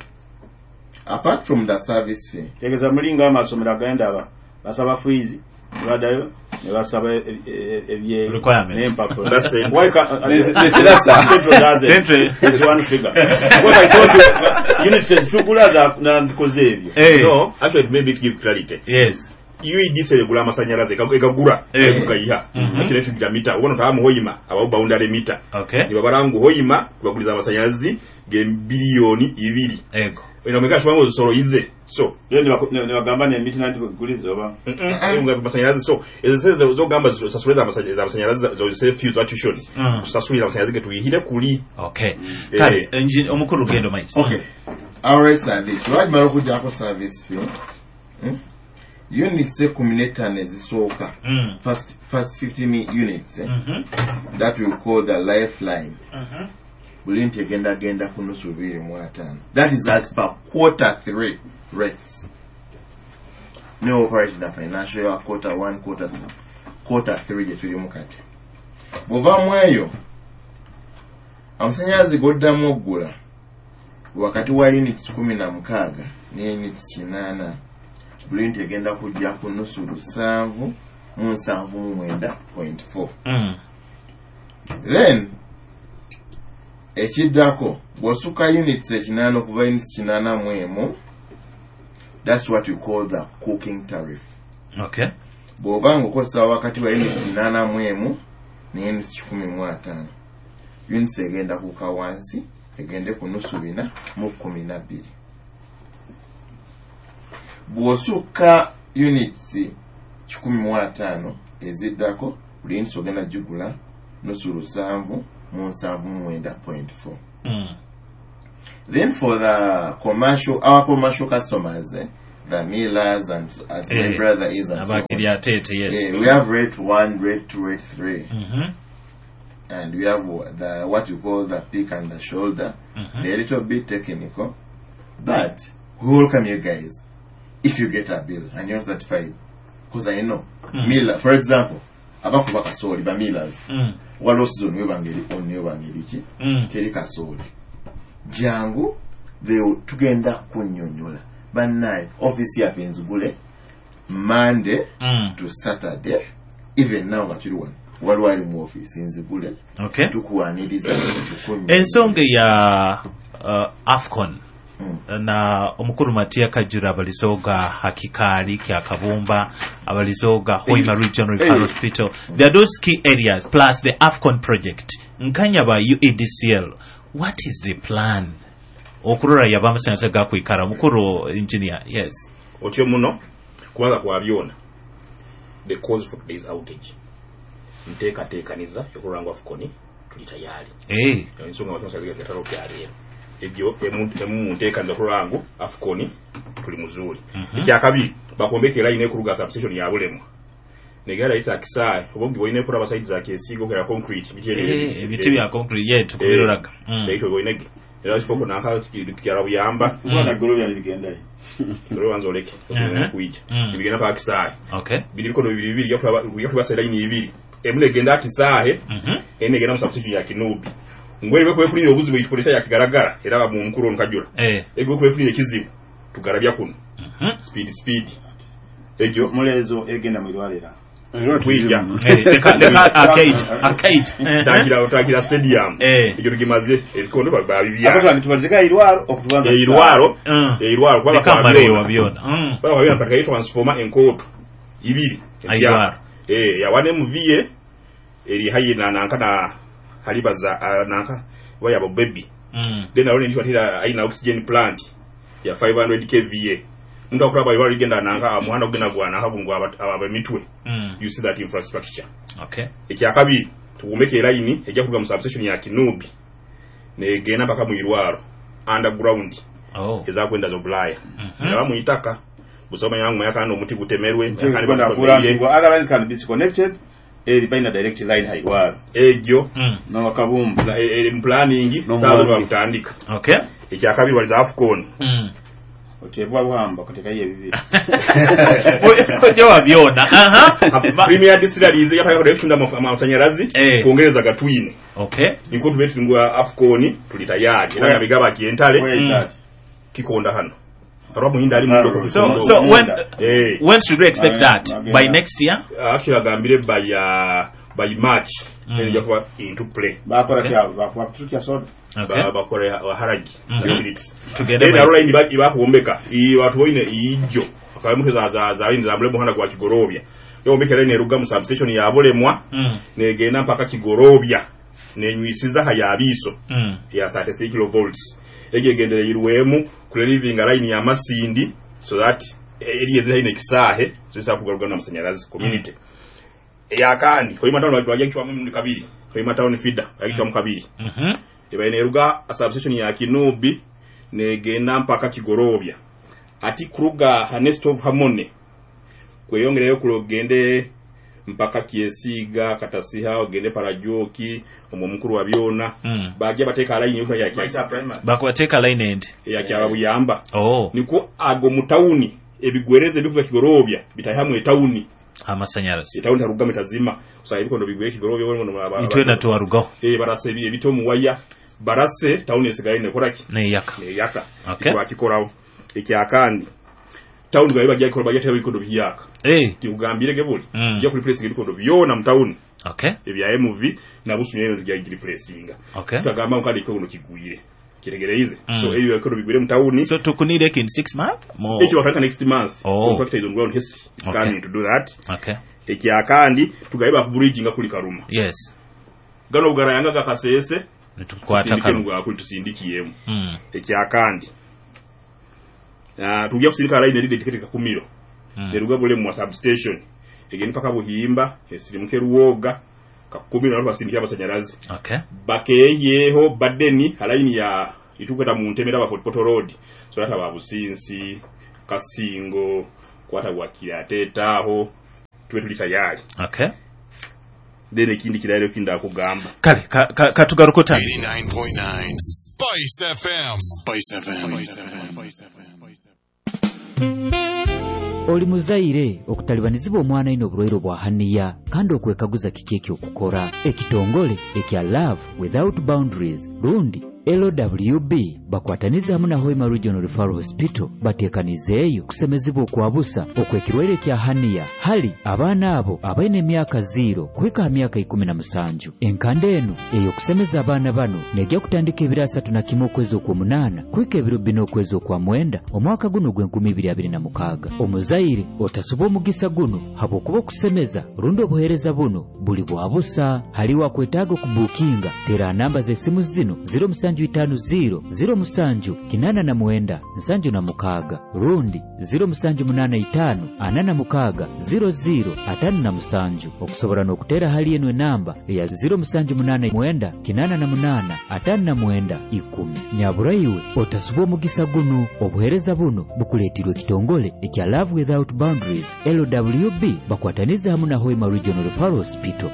Speaker 1: apart from the service fee,
Speaker 3: Tegeza mulinga amasomero agenda aba basaba fees ne baddayo ne basaba e- e- ebye
Speaker 2: Requirements.
Speaker 3: n'empapula.
Speaker 4: That's it.
Speaker 3: Why can't-
Speaker 6: Ne- nesirasa.
Speaker 3: Central does it.
Speaker 2: Central.
Speaker 3: It's one figure. Because I told you, units ezitugula za nandikoze ebyo.
Speaker 2: Eh.
Speaker 4: No, actually maybe to give clarity,
Speaker 2: Yes.
Speaker 4: U E D C egula amasanyalaze ega- egagura
Speaker 2: Eh.
Speaker 4: gayiha.
Speaker 2: Mhm.
Speaker 4: Actually tugira mita ubona tamu Hoima aba boundary mita
Speaker 2: Okay.
Speaker 4: nibabara ngu Hoima tubaguliza amasanyalazi ge biliyoni ibiri.
Speaker 2: Ego.
Speaker 4: Eno meka tubango zisolo ize so
Speaker 3: Then ne baku- ne ne bagamba n'emiti nanti guliza oba.
Speaker 4: mm amasanyalaze so ezo sente zogamba zisasule za amasanyalaze zo fees tuition
Speaker 2: Mm.
Speaker 4: kusasulira amasanyalaze ge tuyihire kuli.
Speaker 2: Okay.
Speaker 4: Eh.
Speaker 2: Kale engi- omukulu genda maiso.
Speaker 1: Okay, our rates are this. Lwakimala okuggyako service fee, hmm? Units ekumi n'ettaano ezisooka,
Speaker 2: Mm.
Speaker 1: first, first fifty mi- units, eh?
Speaker 2: Mhm.
Speaker 1: That we call the lifeline,
Speaker 2: Mhm.
Speaker 1: buli nti egenda genda ku nusu bibiri mu ataano. That is as per quarter three rates. No operate in the financial year quarter one, quarter two, quarter three gye tulimu kati. Bw'ovaamu eyo amasanyalaze goddamu oggula wakati wa units kumi na mukaaga ne units kinaana, buli unit egenda kujja ku nusu lusanvu mu nsanvu mu mwenda point four.
Speaker 2: Mm.
Speaker 1: Then ekiddako bw'osukka units ekinaana, okuva units kinaana mu emu, that's what we call the cooking tariff.
Speaker 2: Okay.
Speaker 1: Bw'oba nga okozesa wakati wa units kinaana mu emu ne units kikumi mu ataano, units egenda kuka wansi egende ku nusu bina mu kkumi na bbiri. Bw'osukka units kikumi mu ataano eziddako, buli units ogenda gigula nusu lusanvu mu nsanvu mu mwenda point four.
Speaker 2: Mm.
Speaker 1: Then for the commercial, our commercial customers, eh, the millers and as my
Speaker 2: Eh,
Speaker 1: brother is and so on.
Speaker 2: Abakiryatete, yes.
Speaker 1: Eh, we have rate one, rate two, rate three,
Speaker 2: Mhm.
Speaker 1: and we have the what you call the peak and the shoulder.
Speaker 2: Mhm.
Speaker 1: They're a little bit technical, but we welcome you guys if you get a bill and you're certified. Because I know
Speaker 2: Mm.
Speaker 1: miller, for example, abakuba kasooli ba millers
Speaker 2: Mm.
Speaker 1: waliwo season webanga eri on webanga eriki
Speaker 2: Mm.
Speaker 1: teri kasooli jangu they- tugenda kunnyonnyola bannaye ofiisi yaffe nzigule monday
Speaker 2: Mm.
Speaker 1: to saturday even now nga tuli wano waliwo ali mu ofiisi nzigule
Speaker 2: Okay.
Speaker 1: tukuwaniriza tukunnyonnyola.
Speaker 2: Ensonga ya uh, AFCON
Speaker 1: Mm.
Speaker 2: na omukulu Matia Kajura abalizoga Hakikaali Kyakabumba abalizoga Hoima Regional Referral
Speaker 6: Hey.
Speaker 2: Hospital. There are those key areas plus the AFCON project. Nkanya ba U E D C L, what is the plan? Okurora yaba amasannyalaze gakwikara mukuru engineer, yes.
Speaker 4: Otyo muno kubanga kwa byona the cause for today's outage nteekateekaniza okulora ngu AFCON tuli tayari.
Speaker 2: Eh.
Speaker 4: Ensonga amasannyalaze gatalo kyaleero egyo emu emu mu nteekaniza okulora ngu AFCON tuli muzuuli.
Speaker 2: Mhm.
Speaker 4: Ekyakabiri bakombeka line ekuruga substation ya Bulemwa negera ita kisaayi oba ogibonye kuraba side za Kyesiiga okera concrete biti
Speaker 2: Eh, ebiti bya concrete ye tukubiroraga. Mm.
Speaker 4: Ekyo boinege era kifo nanka kyala buyamba
Speaker 3: Kubanga Golobya bigendayo.
Speaker 4: Golobya wanza oleke
Speaker 2: Mhm.
Speaker 4: kuija
Speaker 2: Mm.
Speaker 4: bigenda pa kisaayi.
Speaker 2: Okay.
Speaker 4: Biri bikono bibiri bibiri yakulaba yakulaba line ibiri emu negenda kisaahe
Speaker 2: Mhm.
Speaker 4: ene egenda mu substation ya Kinubi ngwe bwe kwefunira obuzibu ekikolesa ya kigaragara era ba mu mukuru nkajula
Speaker 2: Eh.
Speaker 4: egwe kwefunira ekizibu tugarabya kuno
Speaker 2: Mhm.
Speaker 4: speed speed egyo
Speaker 3: Mulezo egenda mu irwalira.
Speaker 4: Kuija.
Speaker 2: Eh, leka leka arcade arcade. Eh.
Speaker 4: Tangira otangira stadium.
Speaker 2: Eh.
Speaker 4: Egyo tugimaze ebikondo babibya.
Speaker 3: Abatwa nitubazika irwaro okutubanza.
Speaker 4: Irwaro.
Speaker 2: Mm.
Speaker 4: Irwaro kwa
Speaker 2: Leka mare wa byona. Mm.
Speaker 4: Kwa byona pataka transformer enkoto ibiri.
Speaker 2: Irwaro.
Speaker 4: Eh ya wane M V A eri hayi na nanka na halibaza nanka wa yabo baby.
Speaker 2: Mm.
Speaker 4: Then alone nditwa tira aina oxygen plant ya five hundred K V A. Muntu akuraba iwali genda nanka muhanda kugenda gwa nanka bungu aba mitwe.
Speaker 2: Mm.
Speaker 4: You see that infrastructure.
Speaker 2: Okay.
Speaker 4: Ekyakabiri tugumeke line ejja kuruga mu substation ya Kinubi negenda mpaka mu irwaro underground.
Speaker 2: Oh.
Speaker 4: Ezakwenda zo Bulaya.
Speaker 2: Mm -hmm.
Speaker 4: Era muitaka busoma yangu yakana omuti gutemerwe
Speaker 3: yakana otherwise can be disconnected eri baina direct line hairwaro
Speaker 4: egyo
Speaker 2: mm.
Speaker 3: no wakabumba
Speaker 4: e, e, planning
Speaker 6: no
Speaker 4: sawa kutandika.
Speaker 2: Okay.
Speaker 4: Ekyakabiri waliza AFCON.
Speaker 2: Mm.
Speaker 3: Otebwa buhamba kuteka ye bibiri.
Speaker 2: Ojo wabyona. Aha.
Speaker 4: Premier distilleries yataka kutunda amasanyalazi
Speaker 2: eh.
Speaker 4: kuongereza gatwine.
Speaker 2: Okay.
Speaker 4: Niko tubetu ngwa AFCON tuli tayari. Era bigaba kientale.
Speaker 2: Mm.
Speaker 4: Kikonda hano. Arwa muhinda ali mundo.
Speaker 2: So so when
Speaker 4: eh.
Speaker 2: when should we expect that? By next year?
Speaker 4: Actually agambire by uh, by March.
Speaker 2: Mm.
Speaker 4: Then yakuba into play.
Speaker 3: Bakora
Speaker 2: Okay.
Speaker 3: kya bakuba tutia soda.
Speaker 2: Okay.
Speaker 4: Bakora haragi.
Speaker 2: Mm -hmm.
Speaker 4: Spirits.
Speaker 2: Together.
Speaker 4: Then line iba ibakuombeka. I watu boine ijo. Akamuke za za za za mlemo hana kwa Kigorobya. Yo ombeka line eruga mu substation ya Bulemwa.
Speaker 2: Mm.
Speaker 4: Negenda mpaka Kigorobya. Nenywisiza hayabiso.
Speaker 2: Mm.
Speaker 4: Ya thirty-three kilovolts. Ege gendere iruwemu kuliving line ya Masindi so that eri ezira ine kisahe zisa kugaruka na masanyalazi community. Mm. Ya kandi Hoima town wajja kichwa mu kabiri. Hoima town feeder yakichwa mu kabiri.
Speaker 2: Mhm. Mm
Speaker 4: Eba ineruga substation ya Kinubi negenda mpaka Kigorobya. Ati kuruga Hanest of Harmony kweyongereyo kulogende mpaka Kyesiiga Katasiha ogende Parajoki omwo mukuru wa byona
Speaker 2: mm.
Speaker 4: bajja bateka line yo ya kya
Speaker 2: bakubateka line end
Speaker 4: ya kya buyamba.
Speaker 2: Oh.
Speaker 4: Niko ago mu town ebigwereze bikuva Kigorobya bitahamwe town
Speaker 2: amasanyalazi
Speaker 4: etawuni tarugame tazima usanga ebikondo bigwere Kigorobya bono
Speaker 2: itwe na tuwarugaho
Speaker 4: eh barase ebito mu waya barase town esigaye ne koraki
Speaker 2: ne yaka
Speaker 4: ne yaka
Speaker 2: okay.
Speaker 4: Bakikorawo ekyakandi town gaye bajja kikola bajja ebikondo biyaka
Speaker 2: eh
Speaker 4: tikugambire gebuli
Speaker 2: mm.
Speaker 4: ya replace ebikondo byona mu town.
Speaker 2: Okay.
Speaker 4: Ebya M V na busunye bya replacinga.
Speaker 2: Okay.
Speaker 4: Tutagamba kandi ekono kigwire kiregereize.
Speaker 2: Mm.
Speaker 4: So ebyo ekono bigwire mu town.
Speaker 2: So tukunire in six months more.
Speaker 4: Ekyo bakataka next month.
Speaker 2: Oh.
Speaker 4: Contractor is on ground is
Speaker 2: okay.
Speaker 4: coming to do that.
Speaker 2: Okay.
Speaker 4: Ekyakandi tugaye ba bridge nga kuli Karuma.
Speaker 2: Yes.
Speaker 4: Gano bugarayanga gakasese
Speaker 2: nitukwata
Speaker 4: Karuma kuli tusindikiyemu.
Speaker 2: Mm.
Speaker 4: Ekyakandi ah tujja kusindika line eri dedicated kakumiro.
Speaker 2: Mm.
Speaker 4: Neruga bule mu substation. Egeni paka Buhimba, esirimuke Ruwoga, Kakumi na basindikira abasanyarazi.
Speaker 2: Okay.
Speaker 4: Bakeyeho badeni halaini ya itukweta mu ntemera ba Port Road. So lata ba Businsi, Kasingo, kwata wakira tetaho tuwe tuli tayari.
Speaker 2: Okay.
Speaker 4: Then ekindi kirayiro kinda kugamba.
Speaker 2: Kale katugaruko ka, ka
Speaker 7: eighty-nine point nine Spice F M. Spice F M. Spice F M.
Speaker 8: Oli muzaire okutalibanizibwa omwana ino oburwaire bwa haniya kandi okwekaguza kiki ekyokukora. Ekitongole ekya Love Without Boundaries rundi L W B bakwataniza hamwe na Hoima Regional Referral Hospital batekanizeeyo kusemezibwa okwabusa okwekirwaire kya haniya hali abaana abo abaine emyaka zero kuhika ha myaka ikumi na musanju. Enkanda eno eyokusemeza abaana bano nejja kutandika ebiro asatu na kimwe okwezi okw'omunaana kuhika ebiro bina okwezi okwa mwenda omwaka guno gw'enkumi ibiri abiri na mukaaga. Omuzaire otasuba omugisa guno habwokuba okusemeza rundi obuheereza buno buli bwabusa. Haliwo akwetaaga okubuukinga tera namba z'essimu zino zero musanju itano zero zero musanju kinana na mwenda nsanju na mukaaga rundi zero musanju munana itano anana mukaaga zero zero atano na musanju. Okusobola n'okutera hali eno enamba eya zero musanju munana mwenda kinana na munana atano na mwenda ikumi. Nyaburaiwe otasuba omugisa guno. Obuheereza buno bukuleetirwe ekitongole ekya Love Without Boundaries L W B bakwataniza hamwe na Hoima Regional Referral Hospital.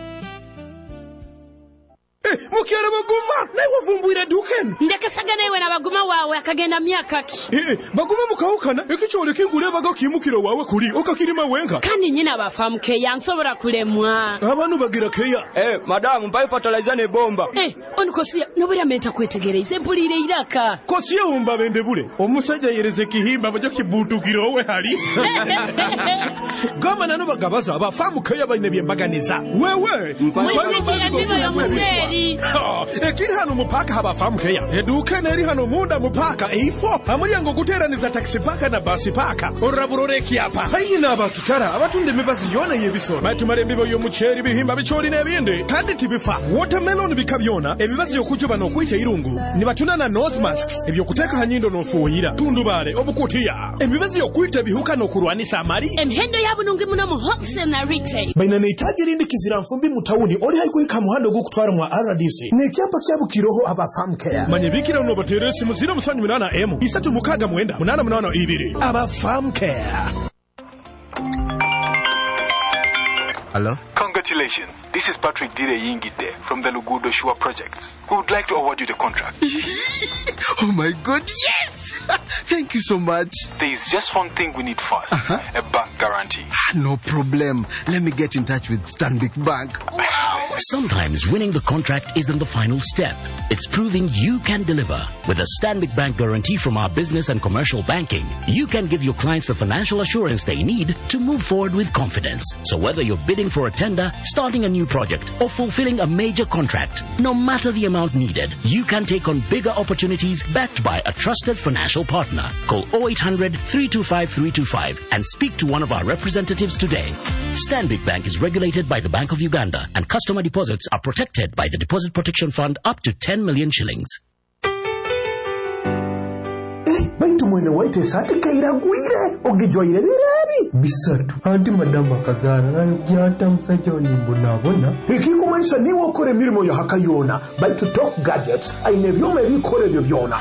Speaker 9: Mukere baguma naye wavumbwira duken
Speaker 10: ndekesagana iwe na baguma wawe akagenda myaka ki
Speaker 9: eh baguma mukawukana ekikyole kingule baga kimukiro wawe kuli okakirima wenka
Speaker 10: kandi nyina bafamu keya nsobora kulemwa
Speaker 9: abantu bagira keya
Speaker 6: eh madamu mpaye fertilizer ne bomba
Speaker 10: eh onikosia nobera menta kwetegereza empulire iraka
Speaker 9: kosiye umba bende bule omusajja yereze kihimba bajo kibutukiro we hali gama nano bagabaza abafamu keya bayine byembaganiza wewe ekiri hano mupaka habafamu keya eduka neri hano munda mupaka eifo amulyango guteraniza taxi paka na basi paka oraburore kyapa hayina abakitara abatunda emibazi yona yebisoro batumara embibo y'omuceeri bihimba bicholi n'ebindi kandi tibifa watermelon bika byona emibazi y'okujuba n'okwita irungu nibatunda na nose masks ebyokuteeka ha nyindo n'ofuuyira tundubale obukutiya emibazi y'okwita ebihuka n'okurwanisa amali
Speaker 10: emihendo yabunungi muno mu wholesale na retail
Speaker 9: baina neitaji rindi kizira nfumbi mu tawuni oli haikuhika muhando gukutwara mwa R D C nekyapa kyabukiroho abafamu care manye bikira uno batere simu zero musanju munana emu isatu mukaga mwenda munana munana ibiri abafamu care.
Speaker 11: Hello?
Speaker 12: Congratulations. This is Patrick Dire Yingide from the Lugudo Shua Projects. We would like to award you the contract.
Speaker 11: Oh my God, yes! Thank you so much.
Speaker 12: There is just one thing we need first.
Speaker 11: Uh-huh.
Speaker 12: A bank guarantee.
Speaker 11: No problem. Let me get in touch with Stanbic Bank. Wow!
Speaker 13: Sometimes winning the contract isn't the final step. It's proving you can deliver. With a Stanbic Bank guarantee from our business and commercial banking, you can give your clients the financial assurance they need to move forward with confidence. So whether you're bidding for a tender, starting a new project, or fulfilling a major contract, no matter the amount needed, you can take on bigger opportunities backed by a trusted financial partner. Call oh eight hundred, three two five, three two five and speak to one of our representatives today. Stanbic Bank is regulated by the Bank of Uganda, and customer deposits are protected by the Deposit Protection Fund up to ten million shillings.
Speaker 9: Baitu mwene waite esati kairagwire ogijwaire birebi
Speaker 14: bisatu anti madamu akazara nayo gyata musajja onimbonabona
Speaker 9: ekikumanyisa niwe okora emirimo ya haka yona baitu Top Gadgets aine ebyoma ebikora ebyo byona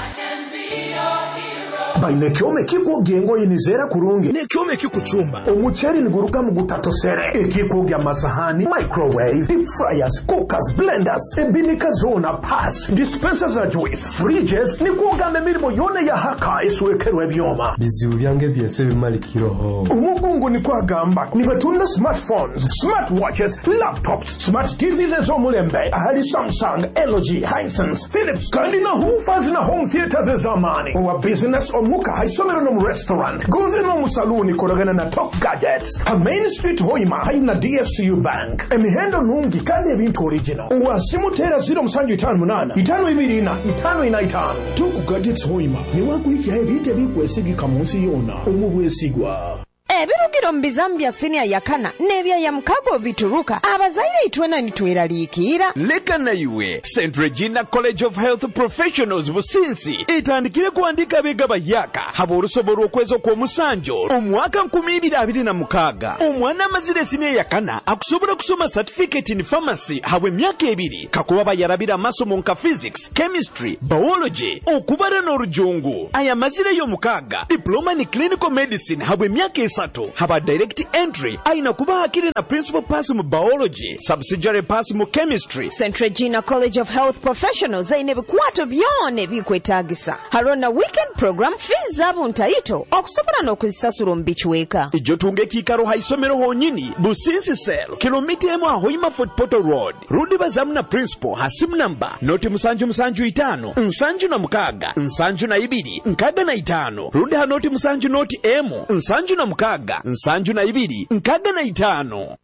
Speaker 9: baine ekyoma ekikwogya engoye nizeera kurungi n'ekyoma ekikucumba omuceeri niguruga mu gutatosere ekikwogya amasahani microwave deep fryers cookers blenders ebinika zona pass dispensers za juice fridges nikwogamba emirimo yona ya haka eswekerwa ebyoma
Speaker 14: bizibu byange byese bimalikiroho
Speaker 9: omugungu nikwagamba nibatunda smartphones smartwatches laptops smart T Vs ez'omulembe ahali Samsung, L G, Hisense, Philips kandi na woofers na home theaters ez'amaani owa business omuka haisomero no mu restaurant gonze no mu saluni koragana na Top Gadgets ha Main Street Hoima haina D F C U Bank emihendo nungi kandi ebintu original owasimutera zero musanju itano munana itano ibiri ina itano ina itano Top Gadgets Hoima ni wakuhikya ebintu ebikwesigika mu nsi yona omubwesigwa.
Speaker 15: Ebirugiro mu bizamu bya siniya yakana n'ebya ya mukago bituruka abazaire itwena nitweraliikirira.
Speaker 16: Leka naiwe Saint Regina College of Health Professionals Businsi etandikire kuandika abega bayaka haba olusobo lw'okwezi okw'omusanjo omwaka nkumi ibiri abiri na mukaaga. Omwana amazire siniya yakana akusobola kusoma certificate in pharmacy habwe emyaka ebiri kakuba bayarabira amasomo nka physics, chemistry, biology, okubara n'orujungu. Aya mazire y'omukaaga diploma ni clinical medicine habwe emyaka esatu haba direct entry aina kuba hakiri na principal pass mu biology, subsidiary pass mu chemistry.
Speaker 15: Saint Regina College of Health Professionals aine ebikwato byona ebikwetaagisa. Hariho na weekend program, fees zaabo ntaito okusobola n'okuzisasula omu bicweka.
Speaker 16: Ijo tunga ekiikaro ha isomero honyini Businsi Cell kilomita emu ahoima Fort Portal Road. Rundi bazamu na principal ha simu namba noti musanju musanju itaano nsanju na mukaaga nsanju na ibiri nkaaga na itaano rundi ha noti musanju noti emu nsanju na mukaaga nsanju na ibiri nkaaga na itaano.